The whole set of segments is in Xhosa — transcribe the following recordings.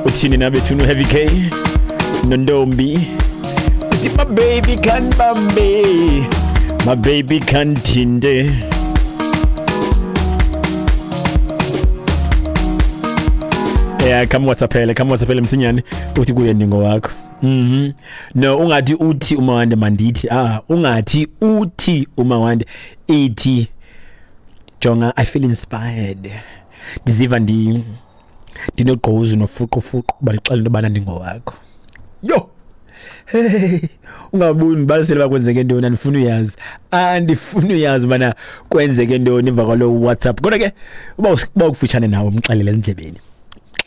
Uthini na bethuna uHeavy K nontombi? Uthi my baby can bambe, my baby can thinte. Yeah, come WhatsAppele, come WhatsAppele msinyane uthi kuye ndingowakho. No, ungathi uthi umawande mandithi. Ah, ungathi uthi umawande ithi jonga, I feel inspired. Ndiziva ndinogqozu nofuqufuqu balixela into yobana ndingowakho. Yo. Hey, ungabuyi ndibalisele uba kwenzeke ntoni, andifuni uyazi. Andifuni uyazi ubana kwenzeke ntoni emva kwalo WhatsApp. Kodwa ke uba ukufutshane nawe umxelele ezindlebeni.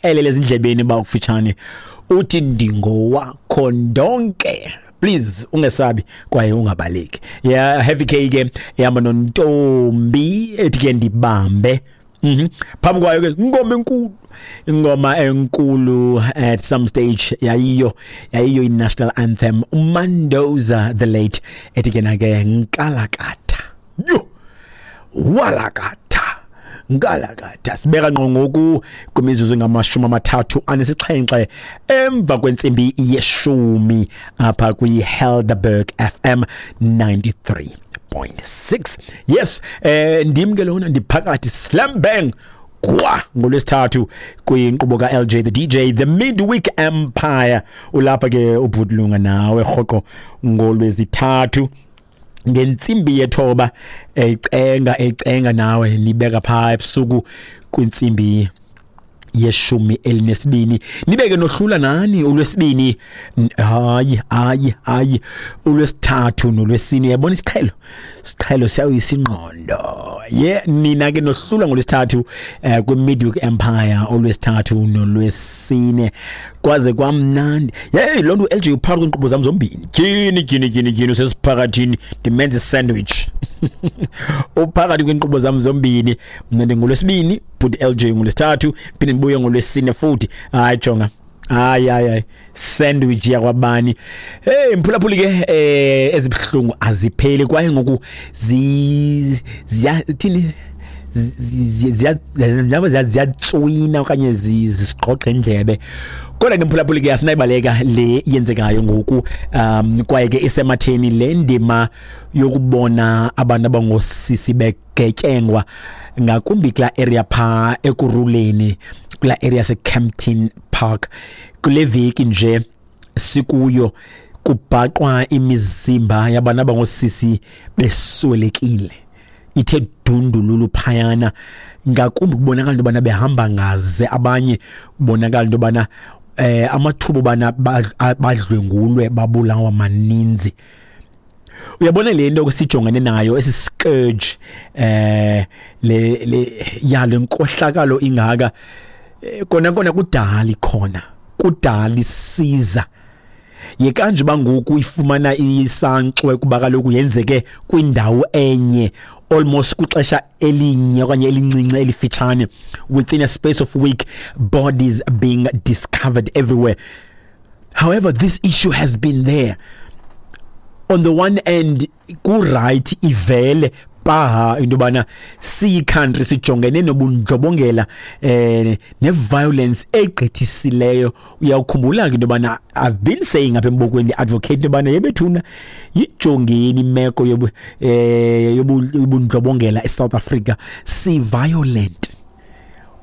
Xelele ezindlebeni uba ukufutshane uthi ndingowakho ndonke. Please ungesabi kwaye ungabaleki. Yeah, Heavy K ke ihamba nontombi ethi ke ndibambe. Phambi kwayo ke ingoma enkulu, ingoma enkulu at some stage yayiyo i-national anthem, uMandoza the late ethi ke nake nkalakatha. Yo, walakatha nkalakatha. Sibeka ngqo ngoku kwimizuzu engamashumi 37 emva kwentsimbi yeshumi apha kwi-Helderberg FM 93.6. Yes, ndim ke lona ndiphakathi slam bang kwa ngolwesithathu kwinkqubo ka-LJ the DJ, the Midweek Empire. Ulapha ke ubhutlunga nawe rhoqo ngolwezithathu ngentsimbi yethoba, ecenga nawe nibeka phaa ebusuku kwintsimbi yeshumi elinesibini. Nibeke nohlula nani ulwesibini, hayi hayi hayi, ulwesithathu nolwesine. Uyabona isiqhelo siyawisa ingqondo. Ye nina ke nohlula ngolwesithathu kwi-Midweek Empire, olwesithathu nolwesine, kwaze kwamnandi. Yeyi, loo nto u-LJ uphakathi kweenkqubo zam zombini. Tyhini tyhini tyhini tyhini, usesiphakathini, ndimenza isandwich. Uphakathi kweenkqubo zam zombini. Mna ndingolwesibini, bhuti LJ ngolwesithathu, phinde ndibuye ngolwesine futhi. Hayi jonga, hayi hayi hayi, sandwich yakwabani. Hey mphulaphuli ke, ezibuhlungu azipheli kwaye ngoku ziya thini, ziyatswina okanye zisigqogqa indlebe. Kodwa ke mphulaphuli ke asinayibaleka le yenzekayo ngoku, kwaye ke isematheni le ndima yokubona abantu abangosisi begetyengwa, ngakumbi kulaa area phaa Ekurhuleni, kulaa area seKempton Park. Kule veki nje sikuyo kubhaqwa imizimba yabantu abangosisi beswelekile, ithe dundululu phayana. Ngakumbi kubonakala into yobana behamba ngaze abanye, kubonakala into yobana amathuba obana badlwengulwe babulawa maninzi. Uyabona le nto sijongene nayo, esi scourge, le ya le nkohlakalo ingaka, kona kona kudala ikhona, kudala isiza. Yekanje bangoku ifumana isankxwe kuba kaloku yenzeke kwindawo enye almost kwixesha elinye okanye elincinci elifitshane, within a space of week, bodies being discovered everywhere. However, this issue has been there. On the one end ku-right ivele paha into yobana siyi-country sijongene nobundlobongela ne-violence egqithisileyo. Uyawukhumbula ke into yobana I've been saying apha embokweni, advocate into yobana yebethuna yijongeni imeko yobundlobongela eSouth Africa. Si-violent,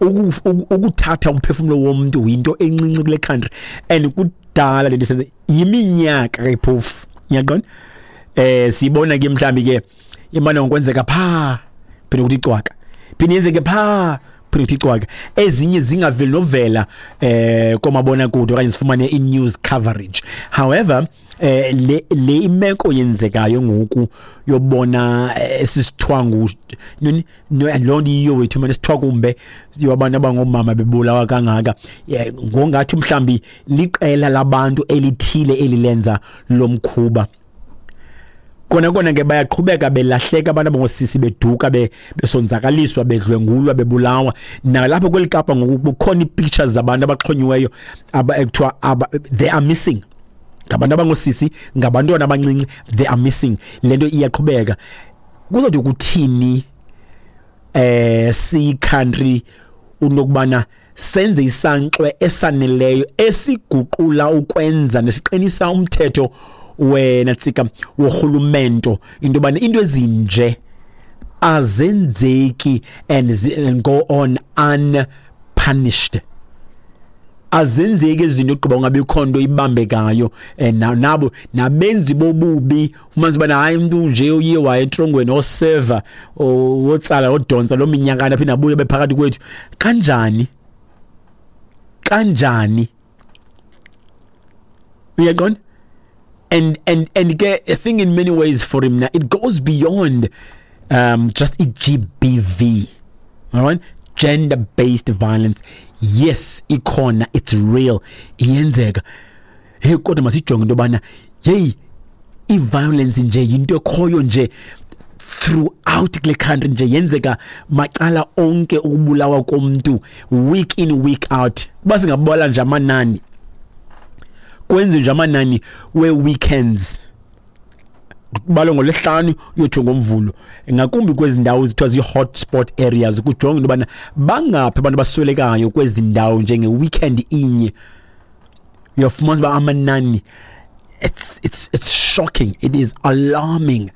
ukuthatha umphefumlo womntu yinto encinci kule country, and kudala le nto isenze, yiminyaka ke phofu, uyaqonda. Sibona ke mhlambi ke imane ngokwenzeka pha, phinde ukuthi icwaka, phinde yenzeke pha, phinde ukuthi icwaka, ezinye zingaveli novela komabona kude okanye sifumane i-news coverage. However, le imeko yenzekayo ngoku yobona esisithwangu loo nto iyiyo wethu manje, sithwakumbe yabantu abangomama bebulawa kangaka, ngongathi mhlambi liqela labantu elithile elilenza lomkhuba. Kona kona ke bayaqhubeka belahleka abantu abangosisi, beduka, besonzakaliswa, bedlwengulwa, bebulawa. Nalapho kweli Kapa ngoku kukhona ii-pictures zabantu abaxhonyiweyo ekuthiwa they are missing, ngabantu abangosisi, ngabantwana abancinci, they are missing. Le nto iyaqhubeka. Kuzawuthi kuthini siyi-country unokubana Senze isankxwe esaneleyo esiguqula ukwenza nesiqinisa umthetho wena tsika worhulumento, into yobana into ezinje azenzeki and go on unpunished. Azenzeki izinto ogqiba ungabikho nto ibambekayo, nabo nabenzi bobubi umanzi bana hayi umuntu nje uye waye entrongweni oseva wotsala odonsa lo minyakana phinda abuye bephakathi kwethu. Kanjani? Kanjani? Uyaqonda? And ke I think in many ways for him now it goes beyond just i-GBV. All right? Gender based violence, yes, ikhona, it's real, iyenzeka. Hey, kodwa masijonge into yobana yeyi i-violence nje yinto ekhoyo nje throughout kule country nje, yenzeka macala onke, ukubulawa komntu week in, week out. Uba singabala nje amanani, kwenze nje amanani we-weekends, kubalwa ngolwesihlanu uyotsho ngomvulo, ngakumbi kwezi ndawo zithiwa zii-hotspot areas, kujonge into yobana bangaphi abantu abaswelekayo kwezi ndawo njenge-weekend inye. Uyafumanisa uba amanani, it's shocking, it is alarming,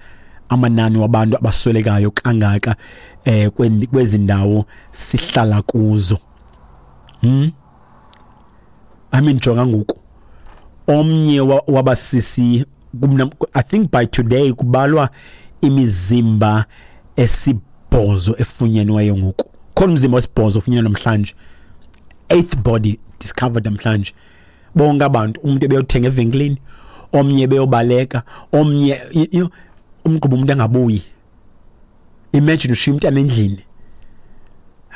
amanani wabantu abaswelekayo kangaka kwezi ndawo sihlala kuzo. I mean, jonga ngoku omnye wabasisi, I think by today kubalwa imizimba esibhozo efunyenweyo ngoku. Khona umzimba wesibhozo ofunyenwe namhlanje, eighth body discovered namhlanje. Bonke abantu, umuntu ebeyothenga evenkileni, omnye beyobaleka, omnye umgquba umuntu angabuyi. Imagine ushiya umntana endlini.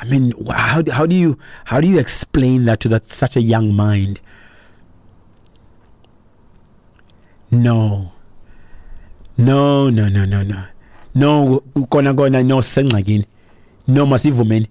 I mean, how do you explain that to that such a young mind? No, no, no, no, no, no, no. Kona kona, no, sengxakini. No, masivumeni.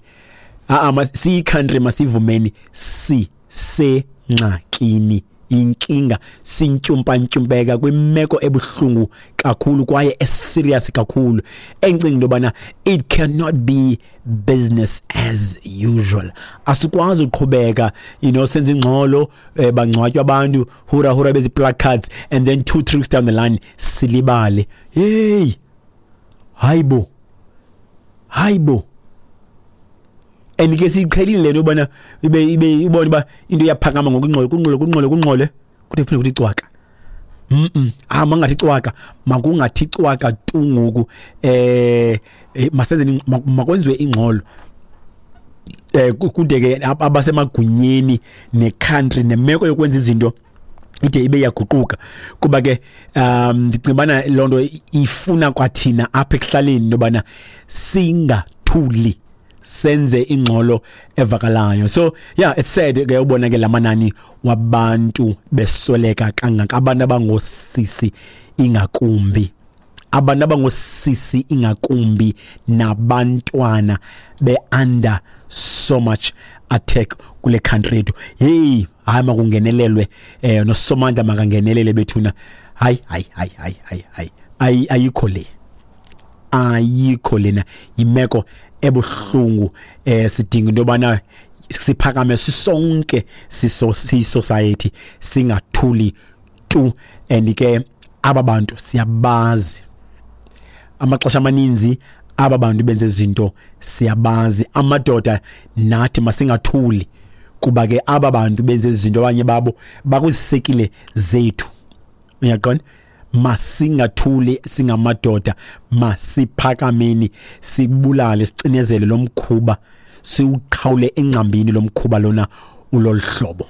Ah, siyi-country, masivumeni, si sengxakini. Inkinga, sintyumpa-ntyumpeka kwimeko ebuhlungu kakhulu kwaye eserious kakhulu, endicinga into yobana it cannot be business as usual. Asikwazi uqhubeka senza ingxolo, bangcwatywa abantu, hura hura, bezi placards, and then 2, 3 weeks down the line silibale. Hey, hayibo, hayibo. And ke siyiqhelile le nto yobana ibe ubone uba into iyaphakama ngokungxole, kungxole, kungxole, kungxole, kude kuphinde kuthi cwaka. Ah, mangathi cwaka, makungathi cwaka tu ngoku. Masenze, makwenziwe ingxolo, kude ke abasemagunyeni necountry nemeko yokwenza izinto ide ibe yaguquka, kuba ke ndicinga bana loo nto ifuna kwathina apha ekuhlaleni intobana singathuli, senze ingxolo evakalayo. So yeah, it's sad ke ubona ke lamanani wabantu besweleka kangaka, abantu abangosisi ingakumbi, abantu abangosisi ingakumbi, nabantwana be under so much attack kule country yethu. Hey, hayi, makungenelelwe, nosomandla makangenelele bethuna. Hayi, hayi, hayi, hayi, hayi, hayi, ayikho le, ayikho lena. Yimeko ebuhlungu. Sidinga into yobana siphakame sisonke, siso society, singathuli tu. And ke aba bantu siyabazi, amaxesha amaninzi aba bantu benze izinto siyabazi. Amadoda nathi masingathuli, kuba ke aba bantu benze izinto abanye babo bakwizisekile zethu. Uyaqonda? Masingathuli singamadoda, masiphakameni, sibulale, sicinezele lo mkhuba, siwuqhawule engcambini lo mkhuba lona ulolu hlobo.